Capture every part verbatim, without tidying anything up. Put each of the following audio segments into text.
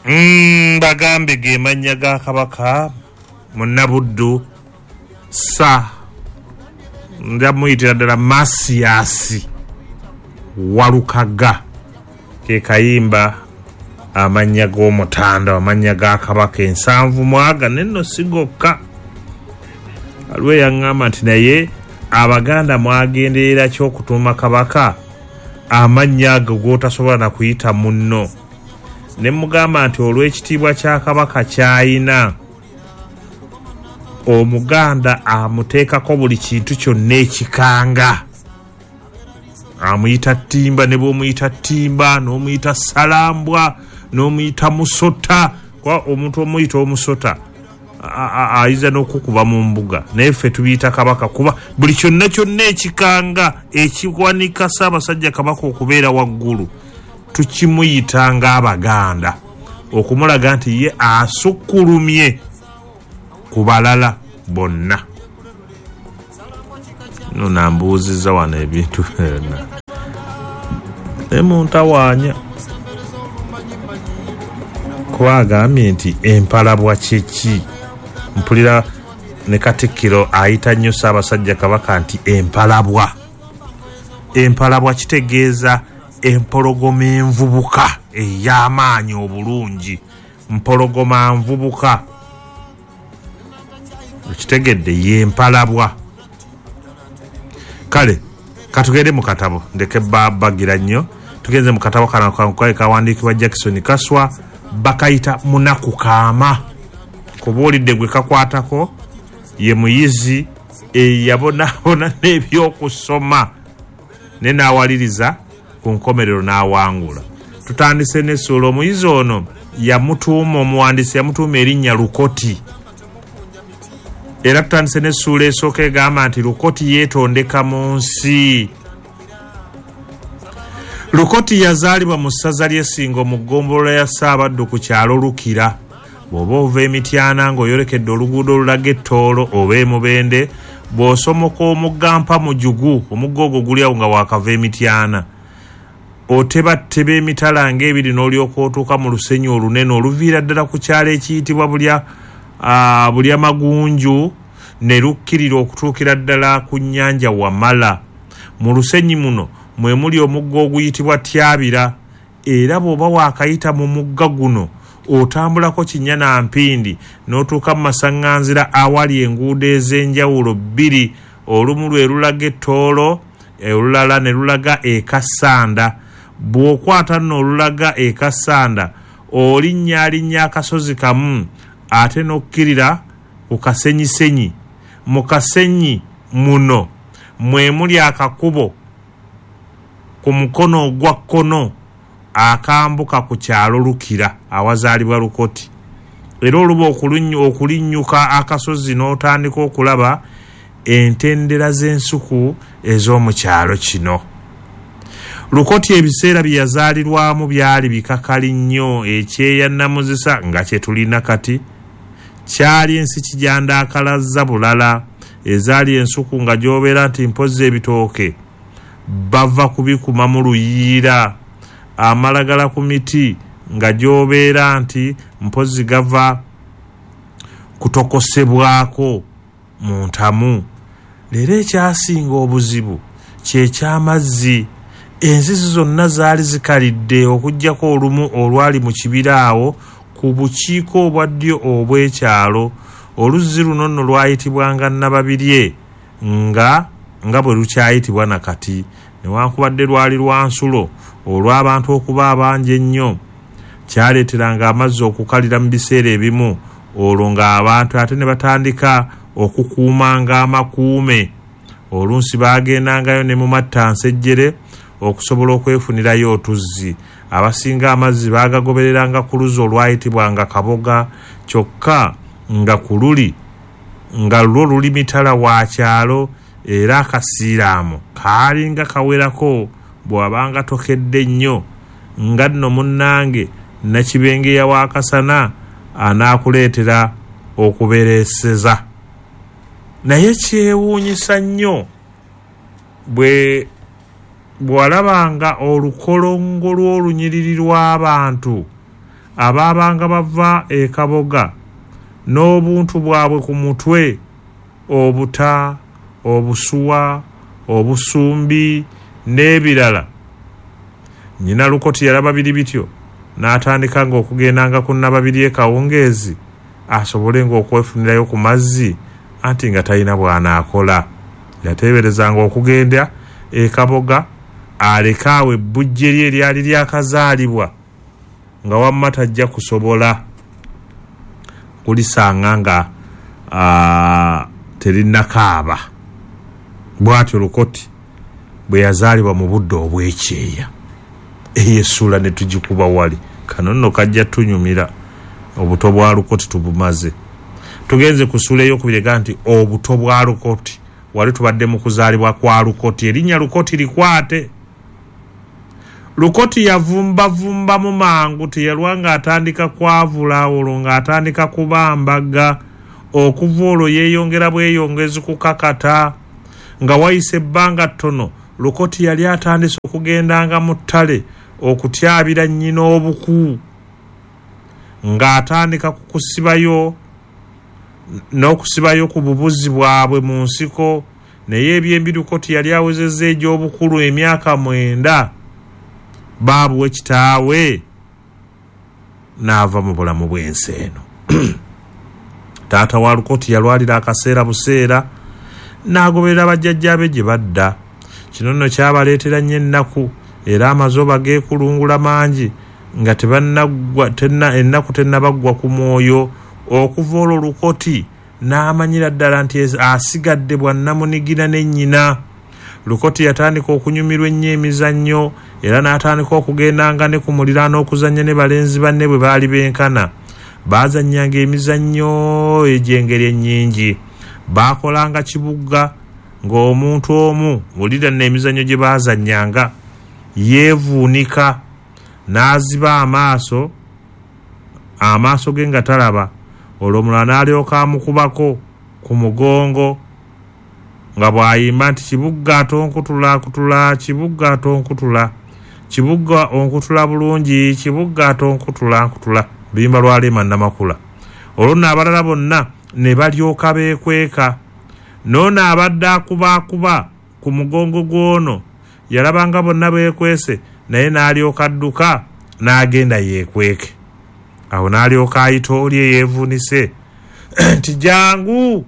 Mm, bagambe ge mannya ga Kabaka Munnabuddu sa ndamuyitira ddala Masiasi Walukaga, ke kayimba amannya g'omutanda, amannya ga Kabaka ensanvu mwaga nenno sigokka. Aliwo yaŋŋamba nti naye Abaganda mwagenderera ki okutuuma Kabaka amannya ago g'otasobola na kuyita munno? Ne mugamba nti olw'ekitiibwa kya Kabaka ky'ayina, Omuganda amuteekako buli kintu kyonna ekikanga. Amuyita ttimba, ne bw'omuyita ttimba n'omuyita salambwa n'omuyita musota, kuba omuntu omuyita omusota ayinza n'okukuba mu mbuga, naye ffe tubiyita Kabaka kuba buli kyonna kyonna ekikanga ekiwanika Ssaabasajja Kabaka okubeera waggulu tukimuyita ng'Abaganda, okumulaga nti ye asukkulumye ku balala bonna. No nambuuzizza wano ebintu byonna ne muntawaanya, kuba agambye nti empalabwa kye ki? Mpulira ne Katikkiro ayita nnyo Ssaabasajja Kabaka nti empalabwa. Empalabwa kitegeeza empologoma envubuka ey'amaanyi obulungi, mpologoma nvubuka, okitegedde, y'empalabwa. Kale katugende mu katabo, ndeke babagira nnyo. Tugenze mu katabo kano kawandiikibwa Jackson Kaswa, bakayita Munaku Kaama. Kubuulidde gwe kakwatako ye muyizi eyabonaabona n'ebyokusoma ne n'awaliriza ku nkomerero n'awangula. Tutandise n'essuula. Omuyizi ono yamutuuma, omuwandiisi yamutuuma erinnya Lukoti. Era tutandise n'essuula esooka egamba nti Lukoti yeetondeka mu nsi. Lukoti yazaalibwa mu ssaza ly'Essingo mu ggombolola ya Ssaabaddu ku kyalo Lukira. Bw'oba ova Emityana ng'oyolekedde oluguudo olulaga Ettoolo oba Emubende, bw'osomoka omugga Mpamujugu, omugga ogwo guli awo nga waakava Emityana, otebatteba emitala ng'ebiri n'olyoka otuuka mu lusenyi olunene oluviira ddala ku kyalo ekiyitibwa Bulya uh, Bulya Magunju ne lukkirira okutuukira ddala ku nnyanja Wamala. Mu lusenyi muno mwe muli omugga oguyitibwa Tyabira, era bw'oba waakayita mu mugga guno otambulako kinnya na mpindi n'otuuka mu masaŋŋanzira awali enguudo ez'enjawulo bbiri, olumu lwe lulaga Ettoolo, olulala ne lulaga e Kassanda. Bw'okwata nno olulaga e Kassanda olinnyalinnya akasozi kamu ate n'okkirira ku kasenyisenyi. Mu kasenyi muno mwe muli akakubo ku mukono ogwa kkono akambuka ku kyalo Lukira awazaalibwa Lukoti. Era oluba okulinnyuka akasozi n'otandika okulaba entendera z'ensuku ez'omu kyalo kino. Lukoti ebiseera bye yazaalirwamu byali bikakali nnyo, ekyeya nnamuzisa nga kye tulina kati kyali ensi kijandaakalazza bulala, ezaali ensuku nga gy'obeera nti mpozzi ebitooke bava kubikuma mu luyiira, amalagala ku miti nga gy'obeera nti mpozzi gava kutokosebwako mu ntamu. Leero ekyasinga obuzibu kyeky'amazzi. Enzizi zonna zaali zikalidde okuggyako olumu olwali mu kibira awo ku bukiiko obwa ddyo obw'ekyalo. Oluzzi luno nno lwayitibwanga Nababirye nga nga bwe lukyayitibwa na kati, newankubadde lwali lwa nsulo olw'abantu okuba abangi ennyo. Kyaleeteranga amazzi okukalira mu biseera ebimu, olwo ng'abantu ate ne batandika okukuumanga amakuume. Oluusi baagendangayo ne mu mattansejjere okusobola okwefunirayo otuzzi. Abasinga amazzi baagagobereranga ku luzzi olwayitibwanga Kaboga, kyokka nga ku luli nga lwo luli mitala wa kyalo, era akasiiraamo kaalinga kawerako bw'abanga tokedde nnyo, nga nno munnange Nakibengeya wa Kasana anaakuleetera okubereeseza. Naye kyewuunyisa nnyo bwe bw'alabanga olukolongo lw'olunyiriri lw'abantu abaabanga bava e Kaboga n'obuntu bwabwe ku mutwe, obuta, obusuwa, obusumbi n'ebirala. Nnyina Lukoti yalaba biri bityo n'atandika ng'okugendanga ku Nnababiri e Kawungeezi asobole ng'okwefunirayo ku mazzi, anti nga talina bw'anaakola. Yateeberezanga okugenda e Kaboga aleke awo ebbujje lye eryali lyakazaalibwa nga wamma tajja kusobola kulisanga nga terinnakaaba. Bw'atyo Lukoti bwe yazaalibwa mu budde obw'ekyeya. Eyo essuula ne tugikuba wali. Kano nno kajja tunyumira, obuto bwa Lukoti tubumaze. Tugenze ku ssuula ey'okubiri ega nti obuto bwa Lukoti. Wali tubadde mu kuzaalibwa kwa Lukoti, erinnya Lukoti likwate. Lukoti yavumbavumbamu mangu, teyalwa ng'atandika kwavula, olwo ng'atandika kubambaga. Okuva olwo yeeyongera bweyongezi kukakata. Nga wayise ebbanga ttono, Lukoti yali atandise okugendanga mu ttale okutyabira nnyina obuku, ng'atandika kukusibayo n'okusibayo ku bubuzi bwabwe mu nsiko. Naye ebyembi Lukoti yali awezezza egy'obukulu emyaka mwenda, baabuwe kitaawe n'ava mu bulamu bw'ensi eno. Taata wa Lukoti yalwalira akaseera buseera n'agoberera bajjajjaabe gye badda. Kino nno kyabaleetera nnyo ennaku, era amazooba geekulungula mangi nga tebannaggwa tenna ennaku tennabaggwa ku mwoyo. Okuva olwo Lukoti n'amanyira ddala nti asigadde bwannamunigina ne nnyina. Lukoti yatandika okunyumirwa ennyo emizannyo, era n'atandika okugendanga ne ku muliraano okuzannya ne balenzi banne bwe baali benkana. Baazannyanga emizannyo egy'engeri ennyingi. Baakolanga kibuga ng'omuntu omu, wulira nno emizannyo gye baazannyanga, yeevuunika n'aziba amaaso, amaaso ge nga talaba, olwo omulala n'alyoka amukubako ku mugongo nga bw'ayimba nti kibuga tonkutula kutula, kibuga tonkutula, kibuga onkutula bulungi, kibuga tonkutula nkutula, luyimba lwa Lema Namakula. Olwo nno abalala bonna ne balyoka beekweka. N'ono abadde akubaakuba ku mugongo gw'ono yalabanga bonna beekwese, naye n'alyoka adduka n'agenda yeekweke. Awo n'alyoka ayita oli eyeevuunise nti jangu.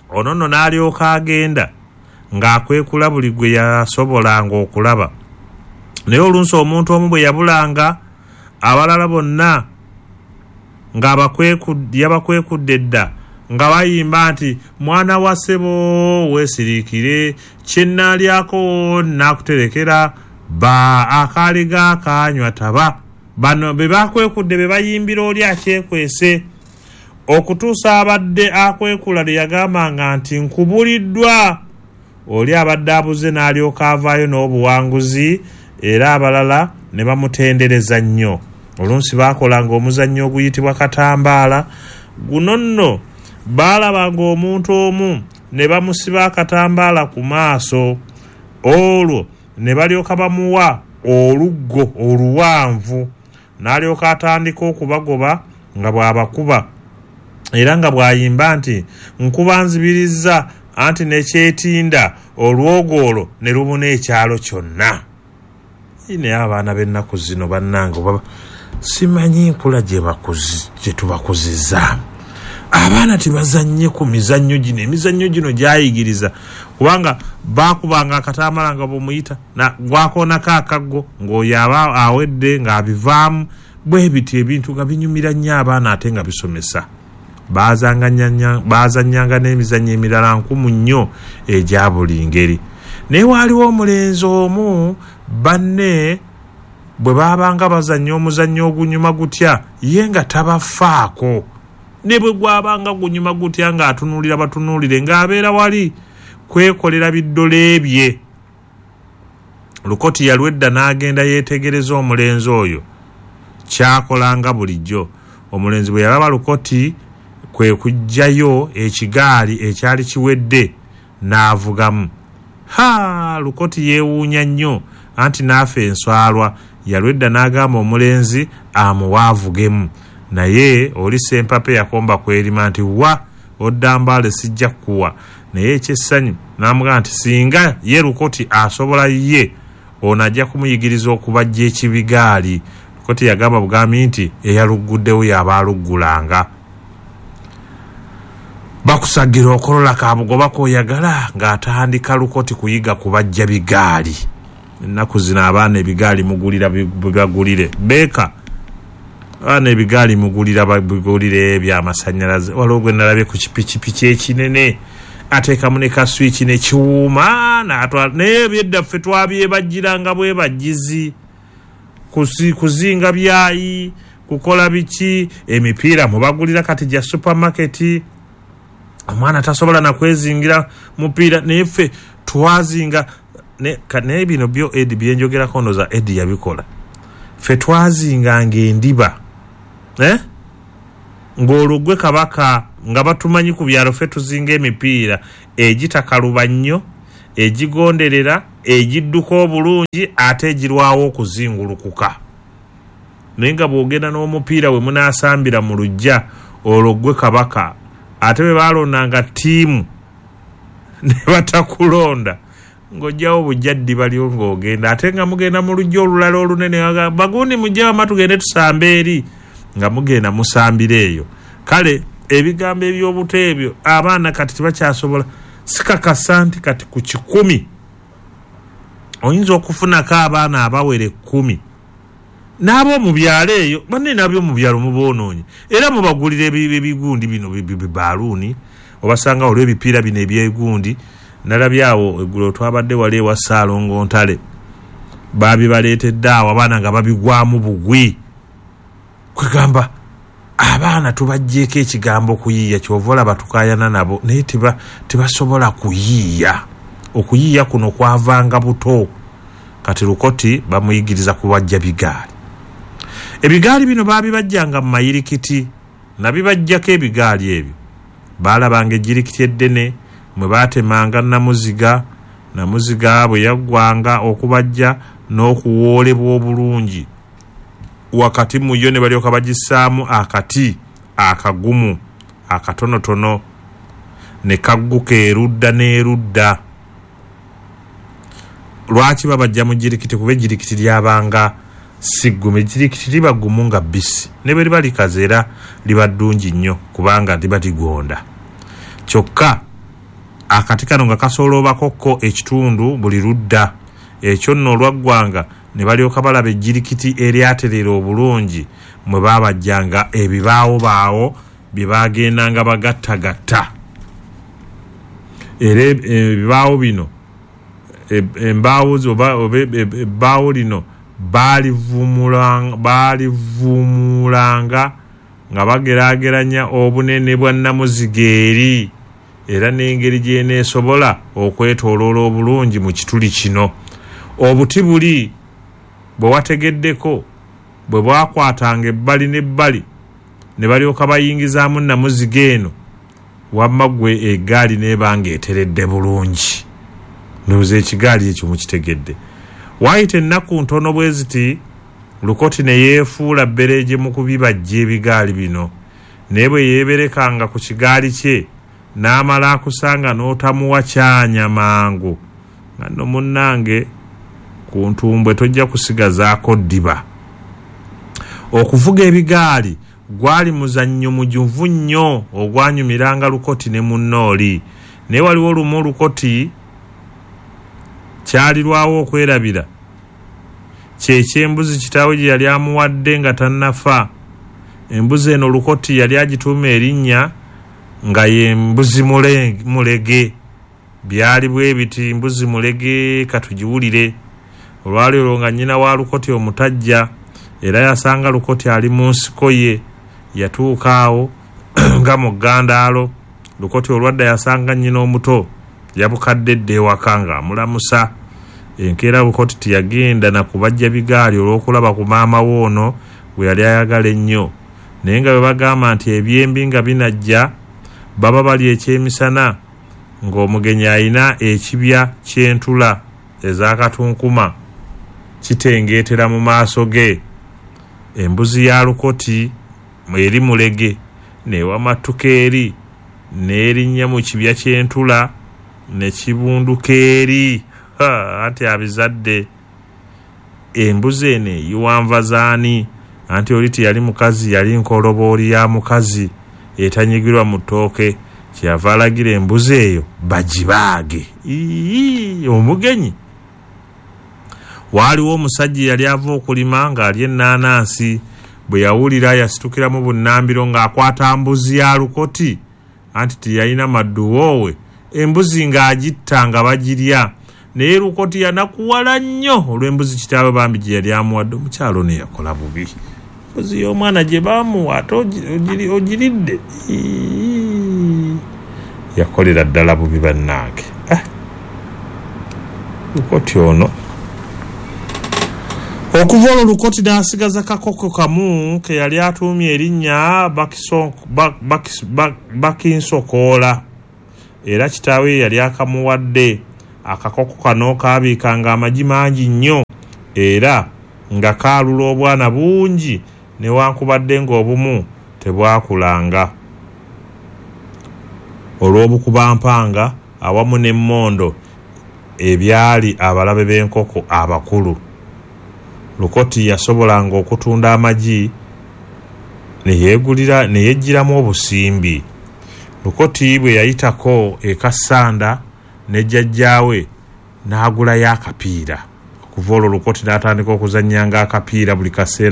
Ono nno n'alyoka agenda ng'akwekula buli gwe yasobolanga okulaba. Naye olunsi omuntu omu bwe yabulanga, abalala bonna ng'abakwekudde dda nga bayimba nti mwana wa ssebo weesiriikire, kye nnaalyako nnaakuterekera, ba akaali gaakanywa taba. Bano be bakwekudde be bayimbira oli akyekwese, okutuusa abadde akwekula lwe yagambanga nti nkubuliddwa. Oli abadde abuze n'alyoka avaayo n'obuwanguzi, era abalala ne bamutendereza nnyo. Olunsi baakolanga omuzannyo oguyitibwa katambaala. Guno nno baalabanga omuntu omu ne bamusiba akatambaala ku maaso, olwo ne balyoka bamuwa oluggo oluwanvu, n'alyoka atandika okubagoba nga bw'abakuba, era nga bw'ayimba nti nkuba nzibirizza, anti nekyetinda olwogo olwo ne lubuna ekyalo kyonna. Naye abaana b'ennaku zino bannange oba simanyi nkula gye tubakuzizaamu. Abaana tebazannye ku mizannyo gino, emizannyo gino gyayigiriza, kubanga baakubanga akatambaala nga bw'omuyita gwakoonako akaggo ng'oyo aba awedde ng'abivaamu. Bwe bityo ebintu nga binyumira nnyo abaana ate nga bisomesa. Baazannyanga n'emizannyo emirala nkumu nnyo egya buli ngeri. Naye waaliwo omulenzi omu banne bwe baabanga bazannya omuzannyo ogunyuma gutya, ye nga tabafaako. Ne bwe gwabanga gunyuma gutya ng'atunuulira batunuulire, ng'abeera wali kwekolera biddole bye. Lukoti yalwedda n'agenda yeetegereza omulenzi oyo kyakolanga bulijjo. Omulenzi bwe yalaba Lukoti kwe kuggyayo ekigaali ekyali kiwedde n'avugamu. Ha, Lukoti yeewuunya nnyo, anti n'afa enswalwa. Yalwedda n'agamba omulenzi amuwaavugemu, naye oli Sempape yakomba kwerima nti wa odda Mbaale sijja kukuwa. Naye ekyessanyu n'amugamba nti singa ye Lukoti asobola ye ono ajja kumuyigiriza okubajja ekibigaali. Lukoti yagamba bugambi nti eyaluguddewo y'aba aluggulanga. Bakusagira okolola kabugoba k'oyagala ng'atandika Lukoti kuyiga kubajja bigaali. Ennaku zino abaana ebigaali mugulira bibagulire beeka, abaana ebigaali mugulira babigulire ebyamasannyalaze. Waliwo gwe nalabye ku kipikipiki ekinene ateekamu ne kaswiki nekiwuuma n'atwala. Naye ebyedda ffe twabyebajjiranga bwebajjizi, kuzinga byayi, kukola biki. Emipiira mubagulira kati gya supamaketi, omwana tasobola nakwezingira mupiira, naye ffe twazinga. Naye bino byo Edi byenjogerako ndoza Edi yabikola. Ffe twazinganga endiba eh? Ng'olwo gwe kabaka nga batumanyi ku byalo, ffe tuzinga emipiira egitakaluba nnyo, egigonderera, egidduka obulungi, ate egirwawo okuzingulukuka. Naye nga bw'ogenda n'omupiira we munaasambira mu luggya, olwo gwe kabaka. Ate bwe baalondanga ttiimu ne batakulonda, ng'ojjawo bujja ddiba lyo ng'ogenda. Ate nga mugenda mu luggya olulala olunene, bagundi mujje wamma tugende tusambe eri, nga mugenda musambira eyo. Kale ebigambo eby'obuto ebyo abaana kati tebakyasobola. Sikakasa nti kati ku kikumi oyinza okufunako abaana abawera ekkumi n'ab'omu byalo eyo. Banne n'ab'omu byalo muboonoonye, era mubagulira ebigundi bino bibaaluuni, obasanga olw'ebipiira bino ebyegundi. Nalabye awo eggulo twabadde wali ewa Ssaalongo Ntale, baabibaleetedde awo abaana nga babigwamu bugwi. Kwegamba abaana tubaggyeko ekigambo kuyiiya, ky'ova olaba tukaayana nabo, naye tebasobola kuyiiya. Okuyiiya kuno kwavanga buto. Kati Lukoti bamuyigiriza kubajja bigaali. Ebigaali bino baabibajjanga mu mayirikiti, nabibajjako ebigaali ebyo. Baalabanga ejjirikiti eddene mwe baatemanga namuziga, namuziga bwe yaggwanga okubajja n'okuwoolebwa obulungi. Wakati mu yo ne balyoka bagissaamu akati akagumu akatonotono ne kagguka erudda n'erudda. Lwaki babajja mu jirikiti? Kuba ejjirikiti lyabanga si ggumu. Ejjirikiti liba ggumu nga bbisi, ne bwe liba likaze era liba ddungi nnyo kubanga liba ligonda. Kyokka akati kano nga kasooloobako ko ekitundu buli ludda. Ekyo nno olwaggwanga ne balyoka balaba ejjirikiti eryaterera obulungi mwe baabajjanga ebibaawobaawo bye baagendanga bagattagatta. Era ebibaawo bino, embaawo oba ebbaawo lino baalivumulanga nga bageraageranya obunene bwa nnamuziga eri, era n'engeri gy'eneesobola okwetooloola obulungi mu kituli kino. Obuti buli bwe wategeddeko bwe bwakwatanga ebbali n'ebbali ne balyoka bayingizaamu nnamuziga eno, wamma ggwe eggaali n'ebanga eteredde bulungi. Ndowooza ekigaali ekyo mukitegedde. Waayita ennaku ntono bwe ziti, Lukoti ne yeefuula bbereeje mu kubibajja ebigaali bino. Naye bwe yeeberekanga ku kigaali kye n'amala akusanga n'otamuwa kyanya mangu, nga nno munnange ku ntumbwe tojja kusigazaako ddiba. Okuvuga ebigaali gwali muzannyo mujuvu nnyo ogwanyumiranga Lukoti ne munnooli. Naye waliwo lumu Lukoti kyalirwawo okwerabira kyekyembuzi kitaawe gye yali amuwadde nga tannafa. Embuzi eno Lukoti yali agituuma erinnya nga ye mbuzi mulege. Byali bwe biti, mbuzi mulege katugiwulire. Olwali olwo nga nnyina wa Lukoti omutajja, era yasanga Lukoti ali mu nsiko ye. Yatuuka awo nga mu ggandaalo. Lukoti olwadda yasanga nnyina omuto yabukadde dda ewaka ng'amulamusa. Enkeera Lukoti teyagenda na kubajja bigaali olw'okulaba ku maama we ono gwe yali ayagala ennyo. Naye nga bwe bagamba nti ebyembi nga binajja baba bali ekyemisana, ng'omugenyi ayina ekibya ky'entula ez'akatunkuma. Kitengeetera mu maaso ge. Embuzi ya Lukoti eri mulege n'ewamatuka eri n'erinnya mu kibya ky'entula ne kibunduka eri. Anti abizadde. Embuzi eno eyiwa nva z'ani? Anti oli teyali mukazi, yali nkolobooli ya mukazi etanyigirwa mu ttooke. Kyeyava alagira embuzi eyo bagibaage. Ii, omugenyi. Waaliwo omusajja eyali ava okulima ng'alya ennaanansi. Bwe yawulira yasitukiramu bunnambiro ng'akwata mbuzi ya Lukoti. Anti teyalina madduwoowe, embuzi ng'agitta nga bagirya. Naye Lukoti yanakuwala nnyo olw'embuzi kitaawe bambi gye yali amuwadde. Omukyalo ono yakola bubi. Embuzi y'omwana gye baamuwa ate ogiridde. Yakolera ddala bubi bannange. Ah, Lukoti ono. Okuva olwo Lukoti n'asigaza kakoko kamu ke yali atuumye erinnya Bakinsokoola. Era kitaawe yali akamuwadde. Akakoko kano kaabiikanga amagi mangi nnyo era nga kaalula obwana bungi newankubadde ng'obumu tebwakulanga. Olw'obukubampanga awamu n'emmondo ebyali abalabe b'enkoko abakulu. Lukoti yasobolanga okutunda amagi ne yeegulira ne yeggyiramu obusimbi. Lukoti bwe yayitako e Kassanda ne jjajjaawe n'agulayo akapiira. Okuva olwo Lukoti n'atandika okuzannyanga akapiira buli kaseera.